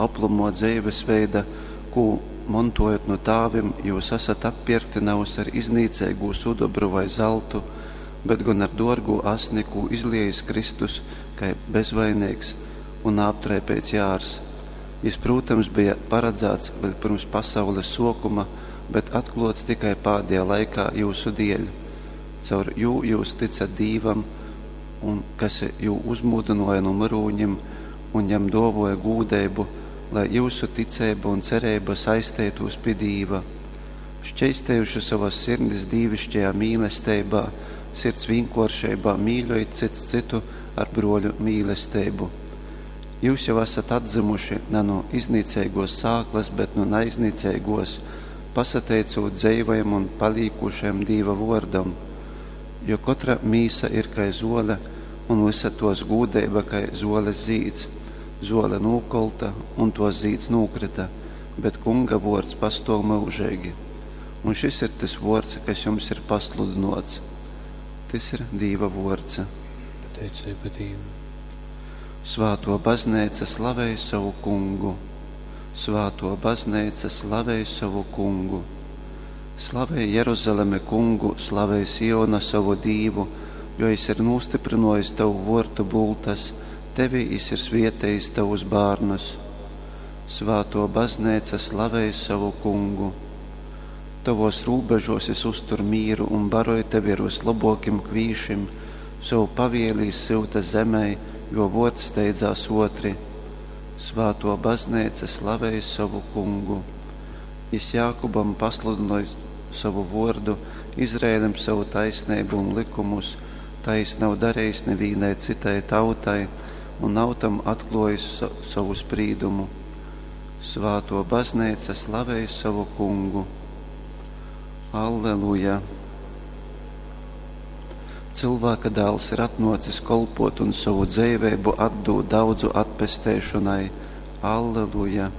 oplomuo dzeivesveida, kū montuojot nu tāvim, jius asat atpierkti navys ar iznīceigū sudobru vai zaltu, bet gon ar duorgū asni, kū izliejis Kristus kai bezvaineigs un naaptraipeits jārs. Jis, prūtams, beja paradzāts vēļ pyrms pasaules suokuma, bet atkluots tikai pādejā laikā jiusu dieļ. Caur jū jius tycat Dīvam, un kas jū uzmūdynuoja nu myrūņim un jam duovuoja gūdeibu, lai jiusu ticeiba un cereiba saisteitūs pi Dīva. Šķeistejuši sovas sirdis dīviškajā mīlesteibā, sirds vīnkuoršeibā mīļojit cyts cytu ar bruoļu mīlesteibu. Jius jau asat atdzymuši na nu iznīceiguos sāklys, bet nu naiznīceiguos, pasateicūt dzeivajam un palīkūšajam Dīva vuordam. Jo kotra mīsa ir kai zuole, un vysa tuos gūdeiba kai zuoles zīds. Zuole nūkolta, un tuos zīds nūkryta, bet Kunga vuords pastuov myužeigi. Un šis ir tys vuords, kas jums ir pasludynuots. Tys ir Dīva vuords. Pateiceiba Dīvam. Svātuo Bazneica slavej sovu Kungu. Svātuo Bazneica slavej sovu Kungu. Slavej, Jeruzaleme, Kungu, slavej, Siona, sovu Dīvu, jo jis ir nūstyprynuojis tovu vuortu bultas, tevi jis ir svietejis tovus bārnus. Svātuo Bazneica slavej sovu Kungu. Tovuos rūbežuos jis uztur mīru un baroj tevi ar vyslobuokim kvīšim, sovu pavieli jis syuta zemei, juo vuords steidzās uotri. Svātuo Bazneica slavej sovu Kungu. Jis Jākubam pasludynoj sovu vuordu, Izraelim sovu taisneibu un lykumus, tai jis nav darejis nivīnai cytai tautai un nav tam atkluojis sovu sprīdumu. Svātuo Bazneica slavej sovu Kungu. Alleluja! Cylvāka dāls ir atnuocis kolpuot un sovu dzeiveibu atdūt daudzu atpesteišonai. Alleluja!